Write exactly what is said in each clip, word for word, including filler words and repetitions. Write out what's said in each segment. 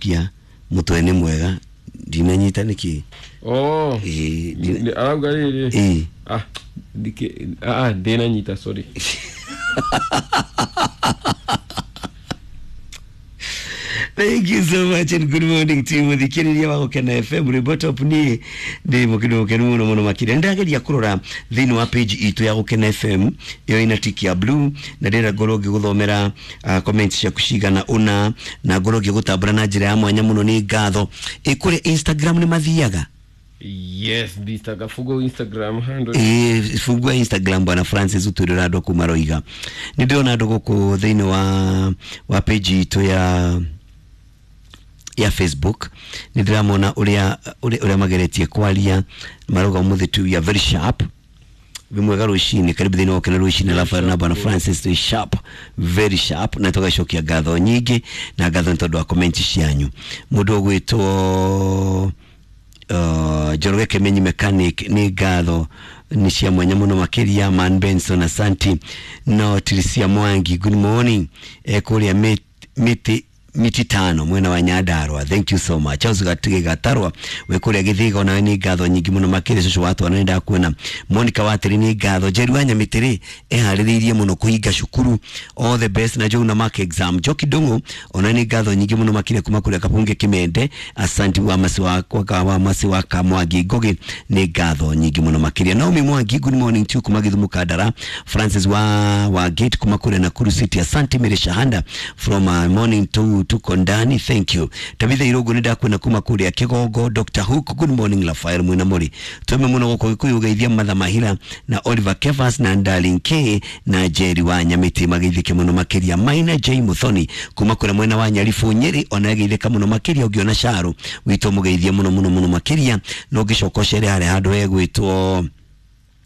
Aracokia mutwe ni mwega ndinanyita niki. Oh. Eh, ndina- Arauga rĩrĩ. Eh. Ah, ndike ah ndinanyita, sorry. Thank you so much and good morning to you. Muthikiriria wa Gukena F M rwimbo top ni ndi mukinu mukenu muno muno makiria. Ndageria kurora thiini wa page itu ya Gukena F M iyo ina tick ya blue na ndira ngorwo ngiguthomera uh, comments ciaku cigana una na ngorwo ngigutambura na njira ya mwanya muno ni ngatho. Ikuri Instagram ni mathiaga? Yes, nditaga fugo Instagram handle. Eh, fungua Instagram bwana Francis utwirira andu kuma roiga. Ni ndĩrona andũ gũkũ thĩinĩ wa wa page itũ ya ya Facebook. Nĩ ndĩramona ũrĩa ũrĩa ũrĩa mageretie kwaria marauga ũmũthĩ tu we are very sharp. Wĩ mwega rũcinĩ, karibu thĩinĩ wa Gukena rũcinĩ Rafael na bwana Francis twĩ sharp, very sharp, na tũgacokia ngatho nyingĩ na ngatho nĩ tondũ wa comment cianyu. Mũndũ ũgwĩtwo uh, Njoroge Kimenyi mechanic nĩ ngatho nĩ cia mwanya mũno makĩria. Man Benson asanti. No Tricia Mwangi, good morning, eh, kũrĩa mĩtĩ miti tano mwena wa Nyandarua, thank you so much. Charles Gatige Gatarwa we kũrĩa Githiga, ona nĩ ngatho nyingĩ mũno makĩria. Cũcũ wa twana nĩ ndakuona. Monica Watĩrĩ nĩ ngatho. Njeri wa Nyamitĩrĩ eharĩrĩirie mũno kũhinga cukuru, all the best na Joe na mark exam. Njoki Ndung'u ona nĩ ngatho nyingĩ mũno makĩria kuma kũrĩa Kabunge Kimende, asanti. Wa masi wa kwa wa masi wa Kamwangi Ngugi nĩ ngatho nyingĩ mũno makĩria. Naomi Mwangi, good morning to you kuma Githumu Kandara. Francis wa wa Gate kuma kũrĩa Nakuru City, asanti. Mary Shahanda from uh, morning to tuko ndani, thank you. Tabitha Irogo nĩ ndakuona kuma kũrĩa Kigongo. Doctor Hook, good morning. Rafael mwina muri tweme muno gũkũ Gĩkũyũ geithia Matha Mahira na Oliver Kevas na Darling K na Jerry wa Nyamiti mageithĩke mũno makĩria. Maina J Muthoni kuma kũrĩa mwena wa Nyaribu Nyeri ona geithĩka mũno makĩria. Ũngĩona Caro witũ mũgeithie mũno mũno mũno makĩria na ũngĩcoka ũcere harĩa handũ hegwĩtwo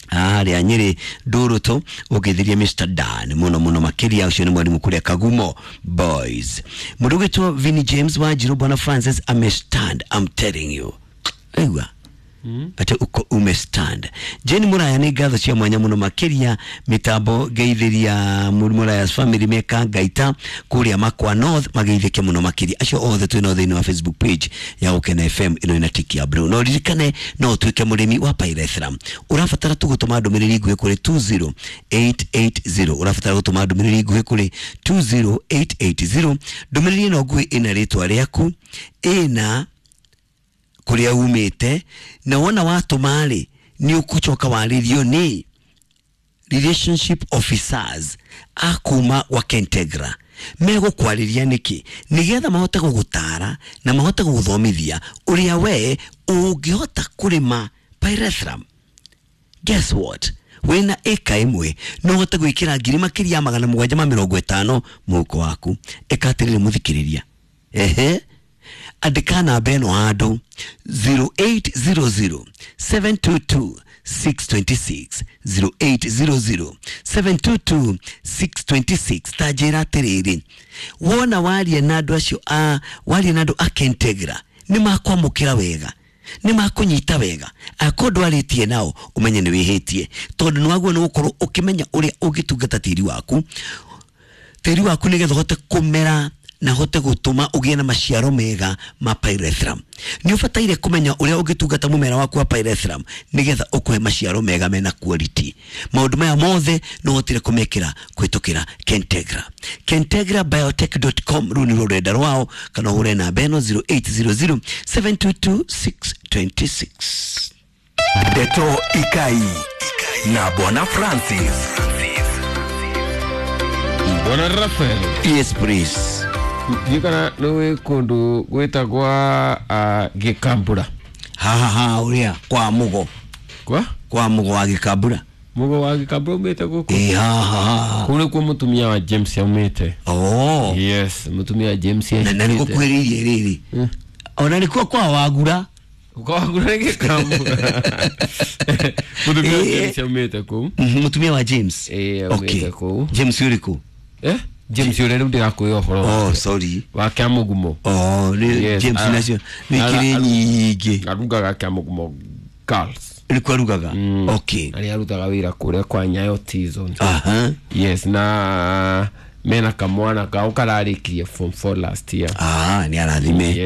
harĩa Nyeri Ndurutu ũngĩthirie Mister Dan mũno mũno makĩria. Ũcio nĩ mwarimu kũrĩa Kagumo Boys. Mũndũ ũgwĩtwo Vinny James wa Njirũ, bwana Francis amestand, I'm telling you, aigua ate uko umestand. Jane Muraya nĩ ngatho cia mwanya mũno makĩria. Mitambo ngeithĩria Muraya's family meka Ngaita kũrĩa Makwa North mageithĩke mũno makĩria. Acio othe twĩ nao thĩinĩ wa Facebook page ya Gukena F M ĩno ĩna tiki ya blue. No ririkane no ũtuĩke mũrĩmi wa pyrethrum. Ũrabatara tu gũtũma ndũmĩrĩri nguhĩ kũrĩ two zero eight eight zero. Ũrabatara gũtũma ndũmĩrĩri nguhĩ kũrĩ two zero eight eight zero. Ndũmĩrĩri ĩno nguhĩ ĩna rĩtwa rĩaku, ĩna kũrĩa umĩte, na wona watũma rĩ nĩ ũgũcoka warĩrio nĩ relationship officers a kuma wa Kentegra. Megũkwarĩria nĩkĩ? Nĩgetha mahote gũgũtara na mahote gũgũthomithia ũrĩa we ũngĩhota kũrĩma pyrethrum. Guess what? Wĩna ĩka ĩmwe no ũhote gwĩkĩra ngiri makĩria ya magana mũgwanja ma mĩrongo ĩtano mũhuko waku. Ĩka atĩrĩrĩ mũthikĩrĩria, ehe, andĩka namba ĩno handũ zero eight zero zero seven two two six two six, zero eight zero zero seven two two six two six. Ta njĩra atĩrĩrĩ, wona waria na andũ acio a waria na andũ a Kentegra nĩ makwamũkĩra wega, nĩ makũnyita wega. Akorwo ndwarĩtie nao ũmenye nĩ wĩhĩtie, tondũ nĩ wagwo nĩ gũkorwo ũkĩmenya ũrĩa ũngĩtungata tĩri waku, tĩri waku nĩgetha ũhote kũmera na hote gũtũma ũgĩe na maciaro mega ma pyrethrum. Nĩ ũbataire kũmenya ũrĩa ũngĩtungata mũmera waku wa pyrethrum nĩgetha ũkũhe maciaro mega mena quality. Maũndũ maya mothe no ũhotire kũmekĩra kũhĩtũkĩra Kentegra. Kentegra biotech dot com rũu nĩ rũrenda rwao, kana ũhũre namba ĩno zero eight zero zero seven two two six two six. Ndeto Ikai na Bwana Francis. Bwana Rafael. Yes please. Ndikana nĩ kũndũ gwĩtagwa uh, Gĩkambura. Ha ha ha, ũrĩa kwa Mugo. Kwa? Kwa Mugo wa Gĩkambura. Mugo wa Gĩkambura umĩte gũkũ? Eh, ha ha ha. Kũu nĩkuo mũtumia wa James aumĩte. Oh. Yes, mũtumia wa James Na na aumĩte. nĩgũkuhĩrĩirie rĩrĩ. Mm. Ona nĩkuo kwa Wagura. Kwa Wagura nĩ Gĩkambura. Mũtumia wa Eh. James aumĩte kũu. Mhm, mũtumia wa James. Eh, aumĩte Okay. kũu. James ũrĩkũ? Eh? James ũrĩa rĩu ndĩrakwĩra ũhoro Oh, wake. sorry. Wa Kĩamũgumo. Oh, nĩ Yes, James ah, nacio nĩ ikĩrĩ ara- nyingĩ. Arugaga Kĩamũgumo Girls. Nĩkuo arugaga? Mm. Okay. Na nĩ arutaga wĩra kũrĩa kwa Nyayo T-Zone. Aha. Yes, na mena kamwana kao kararĩkirie form four last year. Ah, nĩ arathime.